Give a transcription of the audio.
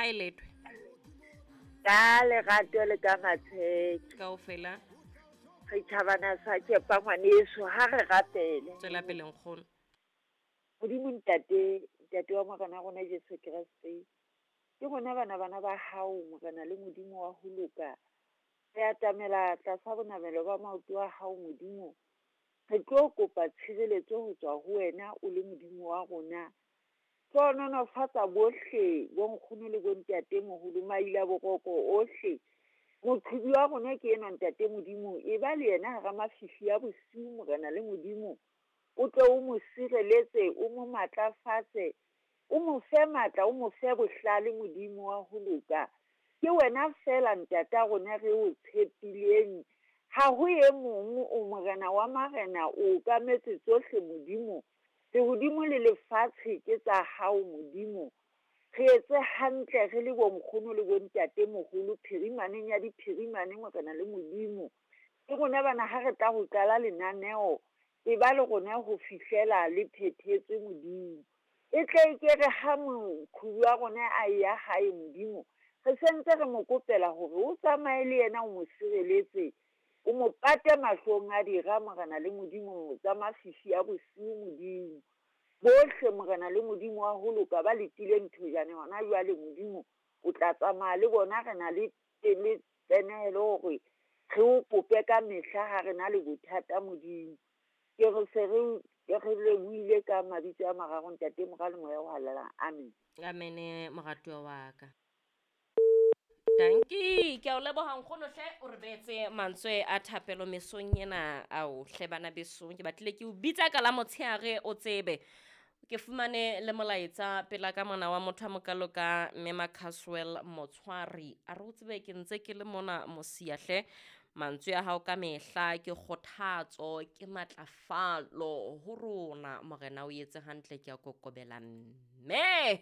Hae letwe. Ka lerato le ka matsheke. Kaofela. Re tjhabana sa tšepa ngwaneso ha re rapele. Tswela pele nkgono. Modimo Ntate, Ntate wa Morena rona Jesu Kreste. Ke rona bana bana ba hao Morena le Modimo wa ho loka. Re atamela tlasa bonamelo ba maoto a hao Modimo. Re tlo kopa tshireletso ho tswa ho wena o le Modimo wa rona. Hlohonolofatsa bohle bonkgono le bontate moholo maila boroko ohle. Moqhubi wa rona ke enwa Ntate Modimo, e ba le yena hara mafifi a bosiu Morena le Modimo. O tle o mo sireletse, o mo matlafatse, o mo fe matla, o mo fe bohlale Modimo wa ho loka. Ke wena feela ntata rona re o tshepileng. Ha ho e mong o Morena wa marena, o okametse tsohle Modimo. Lehodimo le lefatshe ke tsa hao Modimo. Re etse hantle re le bonkgono le bontate moholo phirimaneng ya diphirimane Morena le Modimo. Ke rona bana ha re tla ho qala lenaneo, e ba le rona ho fihlela le phethetswe Modimo. E tle e ke re ha moqhubi wa rona a ya hae Modimo, re sentse re mo kopela hore o tsamaye le yena o mo sireletse, o mo pate mahlong a dira Morena le Modimo tsa mafifi a bosiu Modimo. Bohle Morena le Modimo wa ho loka ba letileng thojane hona jwale Modimo o tla tsamaya le bona re na le tsenehelo hore re o kope ka mehla ha re na le bothata Modimo. Ke re se re lebohile ka mabitso a mararo Ntate Mora le Moya o Halalelang. Amen. Amen moratuwa wa ka. Danki, ke a o leboha nkgono hle o re beetse mantswe a thapelo mesong ena ao hle bana besong ke batlile ke o bitsa ka la motshehare o tsebe ke fumane le molaetsa pela ka mona wa motho a mokalo ka mme Macaswell Motshwari a re o tsebe ke ntse ke le mona mosia hle mantswe a hao ka mehla ke kgothatso ke matlafalo ho rona morena o etse hantle ke a kokobela mme.